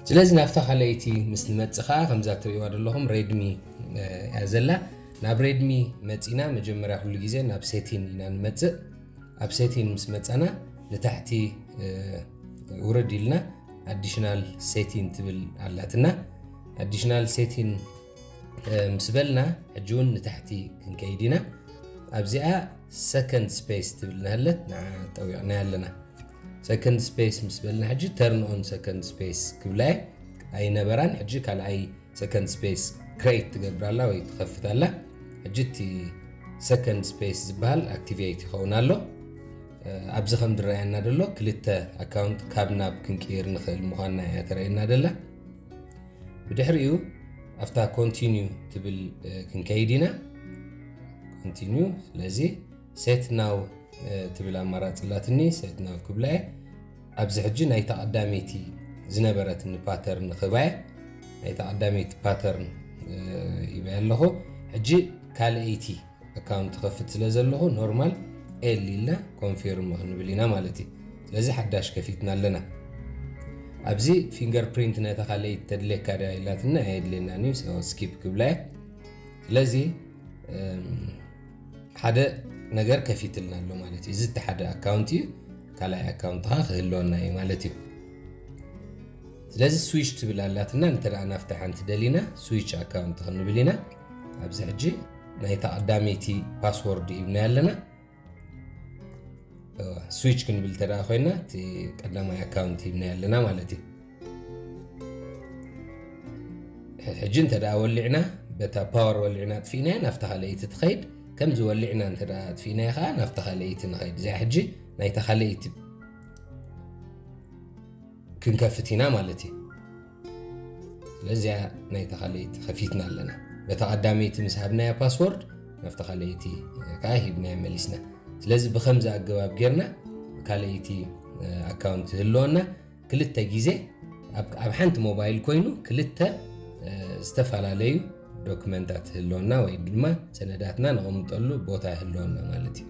ስለዚ ናብታ ካልኣይቲ ምስ ንመጽእ ከዓ ከምዛ ትርእይዋ ዘለኹም ሬድሚ እያ ዘላ። ናብ ሬድሚ መጺና መጀመርያ ኩሉ ግዜ ናብ ሴቲን ኢና ንመጽእ። ኣብ ሴቲን ምስ መጻና ንታሕቲ ውርድ ኢልና ኣዲሽናል ሴቲን ትብል ኣላትና። ኣዲሽናል ሴቲን ምስ በልና ሕጂ እውን ንታሕቲ ክንከይድ ኢና። ኣብዚኣ ሰከንድ ስፔስ ትብል ናሃለት ንዓ ጠዊቕና ኣለና። ሰከንድ ስፔስ ምስ በልና ሕጂ ተርን ኦን ሰከንድ ስፔስ ክብላ እየ። ኣይነበራን። ሕጂ ካልኣይ ሰከንድ ስፔስ ክሬት ትገብር ኣላ ወይ ትኸፍት ኣላ። ሕጂ እቲ ሰከንድ ስፔስ ዝበሃል ኣክቲቬት ይኸውን ኣሎ። ኣብዚ ከም ዝረኣየና ዘሎ ክልተ ኣካውንት ካብ ናብ ክንቅይር ንኽእል ምዃንና እያ ተረእየና ደላ። ብድሕሪኡ ኣብታ ኮንቲኒዩ ትብል ክንከይድ ኢና። ኮንቲኒዩ። ስለዚ ሴት ናው ትብል ኣማራፂ ኣላትኒ። ሴት ናው ክብላ እየ። ኣብዚ ሕጂ ናይታ ቀዳመይቲ ዝነበረትኒ ፓተርን ክህባ እየ። ናይታ ቀዳመይቲ ፓተርን ሂበያ ኣለኹ። ሕጂ ካልኣይቲ ኣካውንት ክኸፍት ስለ ዘለኹ ኖርማል ኤል ኢልና ኮንፊርም ክንብል ኢና ማለት እዩ። ስለዚ ሓዳሽ ከፊትና ኣለና። ኣብዚ ፊንገር ፕሪንት ናይታ ካልኣይቲ ተድልየካ ድያ ኢላትና ኣየድልየናን እዩ። ስኪፕ ክብላ እየ። ስለዚ ሓደ ነገር ከፊትልና ኣሎ ማለት እዩ። እዚ እቲ ሓደ ኣካውንት እዩ። ካልኣይ ኣካውንት ከዓ ክህልወና እዩ ማለት እዩ። ስለዚ ስዊች ትብል ኣላትና። እንተ ደኣ ናብታ ሓንቲ ደሊና ስዊች ኣካውንት ክንብል ኢና። ኣብዚ ሕጂ ናይታ ቀዳመይቲ ፓስወርድ ሂብናያ ኣለና። ስዊች ክንብል እንተ ደኣ ኮይና እቲ ቀዳማይ ኣካውንት ሂብናያ ኣለና ማለት እዩ። ሕጂ እንተ ደኣ ወሊዕና በታ ፓወር ወሊዕና ኣጥፊእናያ ናብታ ካልኣይቲ ትኸይድ። ከምዚ ወሊዕና እንተ ደኣ ኣጥፊእናያ ከዓ ናብታ ካልኣይቲ ንኸይድ። እዚኣ ሕጂ ናይታ ካልኣይቲ ክንከፍት ኢና ማለት እዩ። ስለዚኣ ናይታ ካልኣይቲ ከፊትና ኣለና። በታ ቀዳመይቲ ምስ ሃብናያ ፓስወርድ ናብታ ካልኣይቲ ከዓ ሂብናያ መሊስና። ስለዚ ብከምዚ ኣገባብ ጌርና ካልኣይቲ ኣካውንት ህልወና ክልተ ግዜ ኣብ ኣብ ሓንቲ ሞባይል ኮይኑ ክልተ እ፣ ዝተፈላለዩ ዶክመንታት ህልወና ወይ ድማ ሰነዳትና ነቐምጠሉ ቦታ ህልወና ማለት እዩ።